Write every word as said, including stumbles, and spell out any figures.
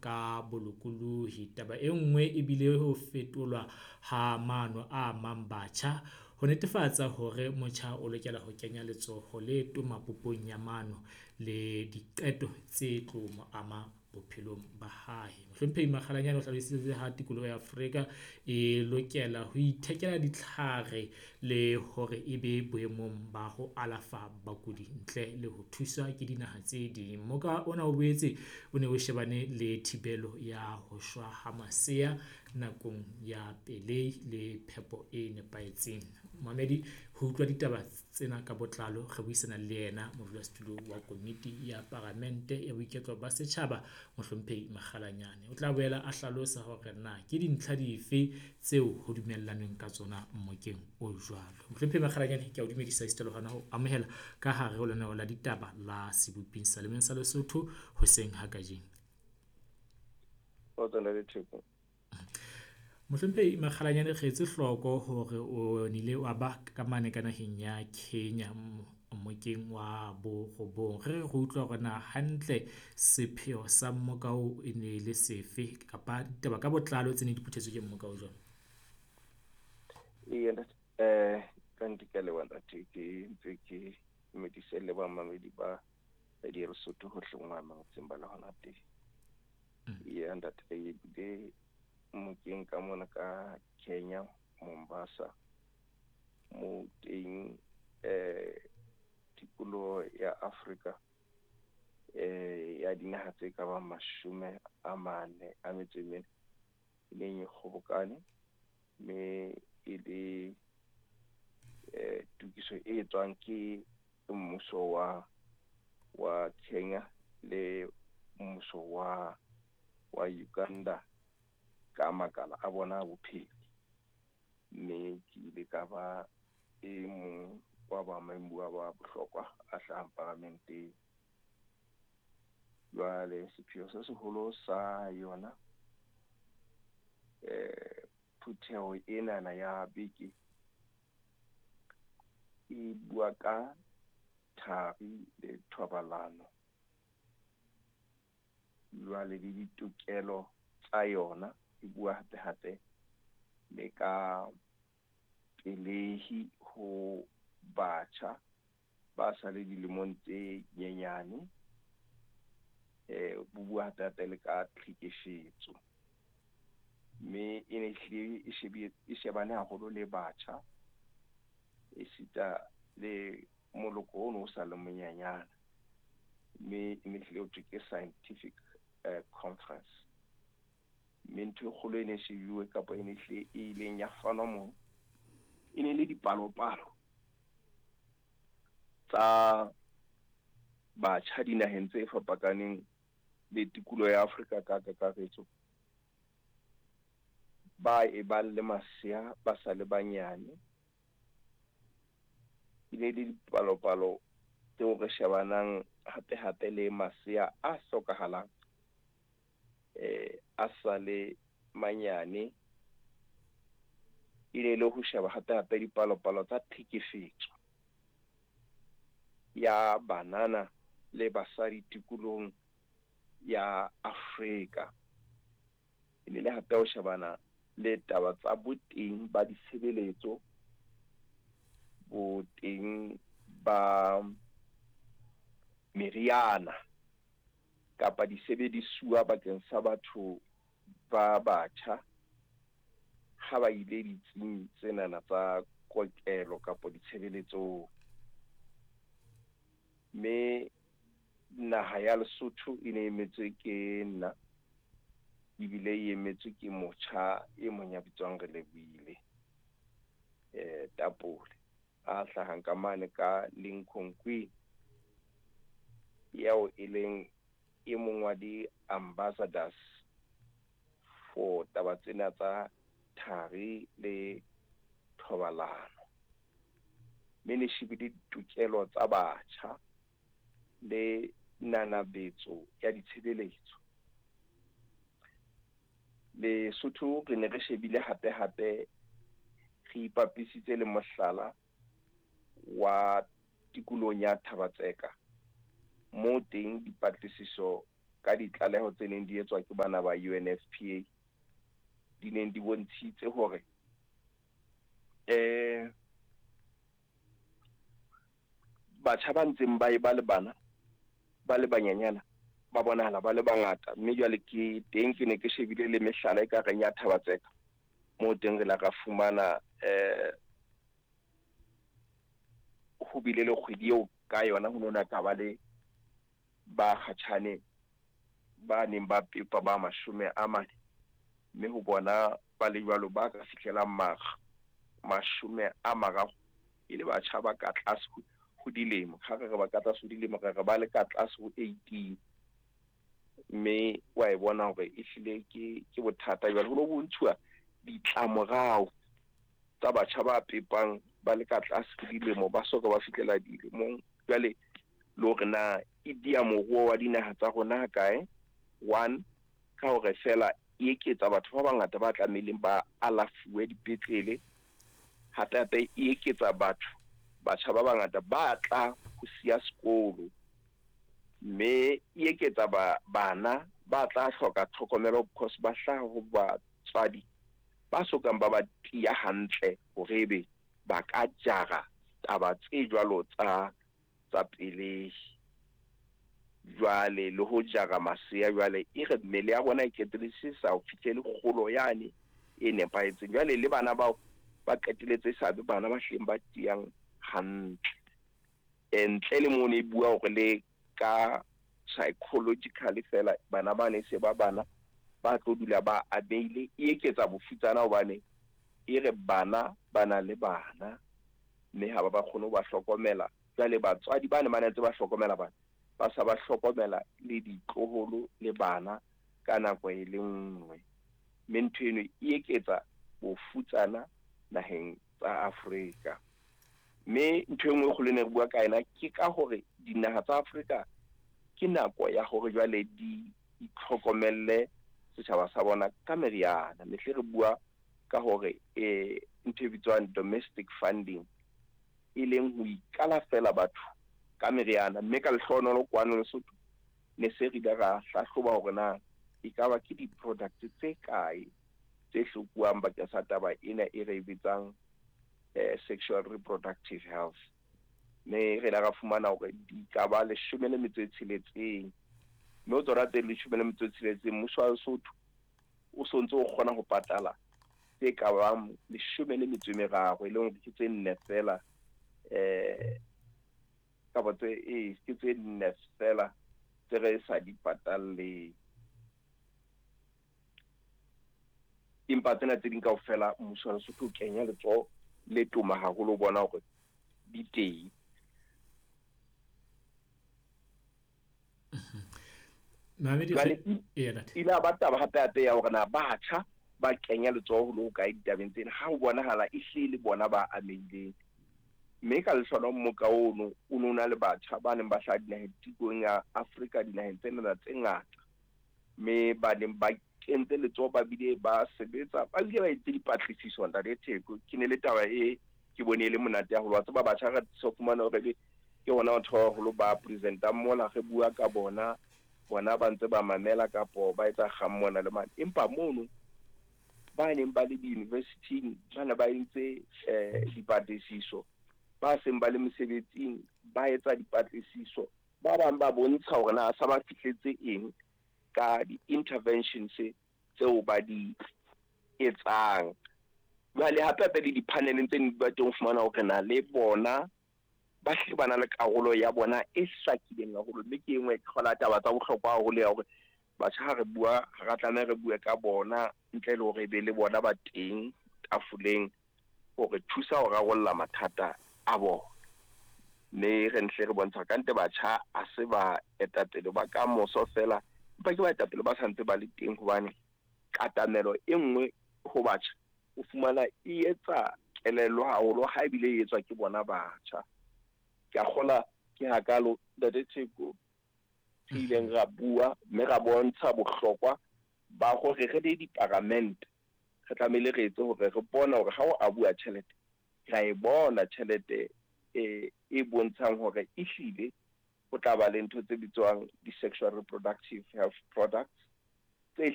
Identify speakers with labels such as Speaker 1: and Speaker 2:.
Speaker 1: ka bolokolohi. Taba e nngwe e bile ho fetolwa ha maano a amang batjha ho netefatsa hore motjha o lokela ho kenya letsoho le toma popong ya maano le diqeto tse tlo mo ama bophelong ba hae. Mohlomphehi Makgalanyane o hlalositse ha tikoloho ya Afrika e lokela ho ithekela ditlhare le hore e be boemong ba ho alafa bakudi ntle le ho thuswa ke dinaha tse ding. Mmoka ona o boetse o ne o shebane le thibelo ya ho shwa ha masea nakong ya pelehi le phepo e nepahetseng. Momamedi, ho utlwa ditaba tsena ka botlalo, re buisana le yena modulasetulo wa komiti ya paramente ya boiketlo ba setjhaba, Mohlomphehi Makgalanyane. O tla boela a hlalosa hore na ke dintlha dife tseo ho dumellanweng ka tsona mmokeng o jwalo. Mohlomphehi Makgalanyane, ke a o dumedisa esita le hona ho amohela ka hare ho lenaneo la ditaba la sebuping sa sa Lesotho hoseng ha kajeno.
Speaker 2: Kgotso Ntate Theko.
Speaker 1: Mohlomphehi Makgalanyane, re etse hloko hore o nile wa ba ka mane ka naheng ya Kenya mmokeng wa borobong. Re re re utlwa hore na hantle sepheo sa mmoka oo e ne le sefe kapa ditaba ka botlalo tse ne di phuthetswe ke mmoka o jwalo?
Speaker 2: Eya ntate, eh ka nnete ke a leboha ntate, ke ntse ke dumedise le bamamedi ba Radio Lesotho hohle mo ba ba le hona teng. Eya ntate, re bile mmokeng ka mona ka Kenya, Mombasa, moo teng eh tikoloho ya Afrika eh ya dinaha tse ka bang mashome a mane a metso e mene e neng e kgobokane, mme e le eh tokiso e etswang ke mmuso wa wa Kenya le mmuso wa wa Uganda ka makala a bona a bophelo. Mme ke ile ka ba e mong wa ba ba bohlokwa a hlahang paramenteng. Jwale sepheo se seholo sa yona eh phutheho enana ya beke e bua ka thari le thobalano, jwale le ditokelo tsa yona. E bua hape hape le ka pelehi ho batjha ba sa le dilemong tse nyenyane. Eh bo bua hape hape le ka tlhekefetso, mme e ne ehlile e shebile e shebane haholo le batjha esita le moloko ono o sa le monyenyana, mme e ne hlile ho thwe ke scientific eh conference. Mme ntho e kgolo e ne e shebuwe kapa e ne hlile e ileng ya fanwa moo, e ne le dipalopalo tsa batjha dinaheng tse fapakaneng le tikoloho ya Afrika ka kakaretso, ba e bang le masea ba sa le banyane. E ne le dipalopalo tseo re shebanang hape hape le masea a hlokahalang eh a sa le manyane. E ne le ho sheba hape hape dipalopalo tsa tlhekefetso ya banana le basadi tikolohong ya Afrika. E ne le hape ho shebana le taba tsa boteng ba ditshebeletso, boteng ba meriana kapa disebedisuwa bakeng sa batho ba batjha ha ba ile ditsing tsenana tsa kokelo kapa ditshebeletsong. Mme naha ya Lesotho e ne emetswe ke nna, ebile e emetswe ke motjha e mong ya bitswang Relebohile eh Tapole, a hlahang ka mane ka Lincoln Queen, eo e leng e mong wa di-ambassadors for taba tsena tsa thari le thobalano. Mme ne shebile ditokelo tsa batjha le nanabetso ya ditshebeletso. Lesotho re ne re shebile hape hape re ipapisitse le mohlala wa tikolohong ya Thaba-Tseka, moo teng dipatlisiso ka ditlaleho tse neng di etswa ke bana ba U N F P A di neng di bontshitse hore eh batjha ba ntseng ba e ba le bana ba le banyenyana ba bonahala ba le bangata mme jwale ke teng ke ne ke shebile le mehlala e ka reng ya Thabatseka mo teng re la ka fumana eh ho bile le kgwedi eo ka yona ho nona ka ba le ba kgatjhane ba neng ba pepa ba mashome a mane mme ho bona ba le jwalo ba ka fihlelang makga mashome a mararo e le batjha ba ka tlase ho dilemo ha re re ba ka tlase ho dilemo re re ba le ka tlase ho eighteen mme wa e bona hore ehlile ke ke bothata jwale ho lo bontshuwa ditlamorao tsa batjha ba pepang ba le ka tlase ho dilemo ba soka ba fihlela dilemong jwale le hore na e dia moruo wa dinaha tsa rona kae one ka hore fela e eketsa batho ba bangata ba tlamehileng ba alafuwe dipetlele hape hape e eketsa batho batjha ba bangata ba tla ho siya sekolo mme e eketsa ba bana ba tla hloka tlhokomelo because ba hlaha ho batswadi ba sokang ba ba tiya hantle hore ebe ba ka jara taba tse jwalo tsa tsa pelehi jwale le ho jara masea jwale e re mmele ya bona e qetelletse sa ho fihlele kgolo yane e nepahetseng jwale le bana bao ba qetelletse sa be bana ba hleng ba tiyang hantle ntle le mo ne bua hore le ka psychologically fela bana ba ne se ba bana ba tlo dula ba abeile e eketsa bofutsana hobane e re bana ba na le bana mme ha ba ba kgone ho ba hlokomela jwale batswadi ba ne ba ntse ba hlokomela bana ba sa ba hlokomela le ditloholo le bana ka nako e le nngwe mme ntho eno e eketsa bofutsana naheng tsa Afrika mme ntho e nngwe kgolo ne re bua ka yona ke ka hore dinaha tsa Afrika ke nako ya hore jwale di itlhokomelle setjhaba sa bona ka meriana mehle re bua ka hore eh ntho e bitswang domestic funding e leng ho ikalafela batho ka meriana mme ka lehlohonolo kwano Lesotho ne se re ile ra hlahloba hore na ekaba ke di-product tse kae tse hlokuwang bakeng sa taba ena e re e bitsang eh, sexual reproductive health mme re ile ra fumana hore di ka ba leshome le metso e tsheletseng mme ho tsona tse leshome le metso e tsheletseng mmuso wa Lesotho o so ntse o kgona ho patala tse ka bang leshome le metso e meraro e leng hore ke tse nne fela eh kapa tse e ke tse nne fela tse re sa di patalleng empa tsena tse ding kaofela mmuso wa Lesotho o kenya letsoho le toma haholo ho bona hore di teng. Ile a ba taba hape hape ya hore na batjha ba kenya letsoho le ho kae ditabeng tsena ha ho bonahala e hle le bona ba amehileng mme ka lehlohonolo mmoka ono o no na le batjha ba neng ba hlaha dinaheng tikong ya Afrika dinaheng tsena tse ngata mme ba neng ba kentse letsoho ba bile ba sebetsa ba bile ba etse dipatlisiso ntate Theko ke ne le taba e ke bone e le monate haholo wa tseba batjha re so fumana hore ke hona batho ba baholo ba presentang mola re bua ka bona bona ba ntse ba mamela kapo ba etsa kgang mona le mane empa mono ba neng ba le di-university-ing ba ne ba entse eh dipatlisiso ba seng ba le mesebetsing ba etsa dipatlisiso ba bang ba bontsha hore na sa ba fihletse eng ka di-interventions tseo ba di etsang jwale hape hape le di-paneleng tse ba teng ho fumana hore na le bona ba hle ba na le karolo ya bona e hlakileng haholo mme ke e nngwe ke kgola taba tsa bohlokwa haholo ya hore batjha ha re bua ha ra tlameha re bue ka bona ntle le hore e be le bona ba teng tafoleng hore thusa ho rarolla mathata a bona mme re ntle re bontsha ka nte batjha a se ba etapele ba ka moso fela empa ke baetapele ba santse ba le teng hobane katamelo e nngwe ho batjha o fumana e etsa kelello haholo ha ebile e etswa ke bona batjha ke a kgola ke hakalo ntate Theko re ileng ra bua mme ra bontsha bohlokwa ba hore re le diparamente re tlamehile re etse hore re bona hore ha o a bua tjhelete ra e bona tjhelete e e bontshang hore ehlile Ho tla ba le ntho tse bitswang di-sexual reproductive health products tse